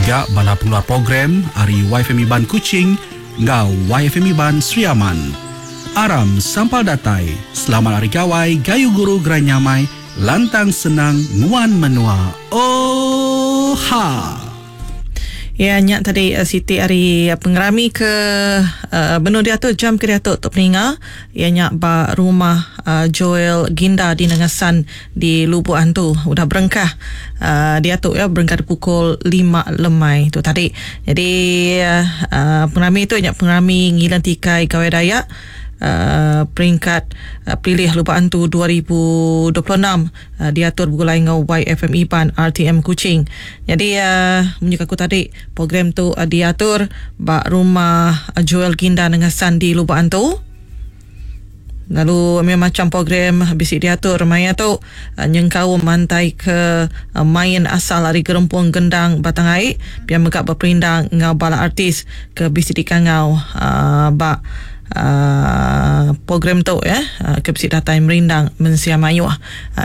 mega bala pengeluar program ari Waifm Iban Kuching enggau Waifm Iban Sri Aman. Aram sampal datai, selamat Hari Gawai gayu guru gerai nyamai lantang senang nguan menua. Oohaa. Iya nya tadi siti ari pengerami ke benung diatur jam ke diatu tu peninga iya nya ba rumah Joel Ginda di Nanga San di Lubok Antu udah berengkah diatu iya berengkah di pukul lima lemai tu tadi. Jadi pengerami tu nya pengerami ngiling tikai Gawai Dayak peringkat Pelilih Lubok Antu 2026 diatur begulai enggau YFM Iban RTM Kuching. Nyadi munyi aku tadi program tu diatur ba Rumah Joel Ginda Nengah Sandi Lubok Antu. Lalu meh macham program bisi diatur maya tu nyengkaum mantai ke main asal ari Gerempung Gendang Batang Ai pia mega beperindang enggau bala artis ke bisi dikangau ba program tu ya ke bisi datai merindang mensia mayuh.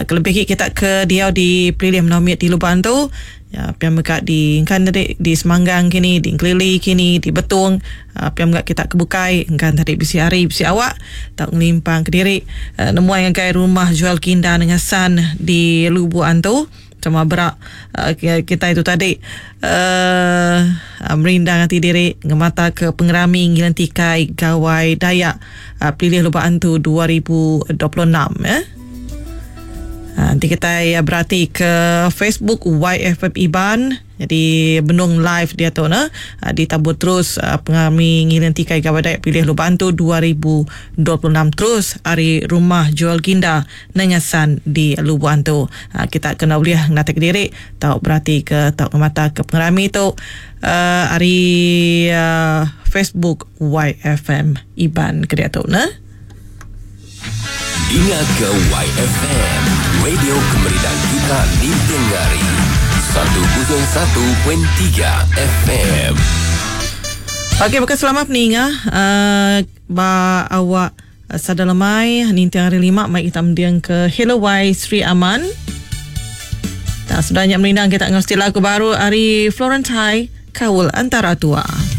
Kelebih agi kita ke diau di pelilih menua mit di Lubok Antu Pia mega di engkan tadi di Semanggang kini, di Engkelili kini, di Betong pia mega kita ke bukai engkan tadi bisi hari bisi awak tau ngelimpang kediri nemuai ngagai rumah Joel Kinda nengah San di Lubok Antu sama bera kitai tu tadi uhh merindang ati diri ngemata ke pengerami ngiling tikai Gawai Dayak Pelilih Lubok Antu 2026 eh. Enti kitai berati ke Facebook YFM Iban jadi benung live diatu ne ditabur terus pengerami ngiling tikai Gawai Dayak Pilih Lubok Antu 2026 terus ari Rumah Joel Ginda Nanga San di Lubok Antu. Kita kena ulih ngenatai kediri tau berati ke tau ngemata ke pengerami tu ari Facebook YFM Iban ke diatu ne. Dinga ke YFM, radio kemerindang kita ninting hari. 101.3 FM. Okey baka selama peninga uh, ba awak uh, sada lemai ninting hari lima mai kita mending ke Hello Y Sri Aman. Tak sudah nya merindang kita ngau lagu baru ari Florentine Kaul Antara Tua.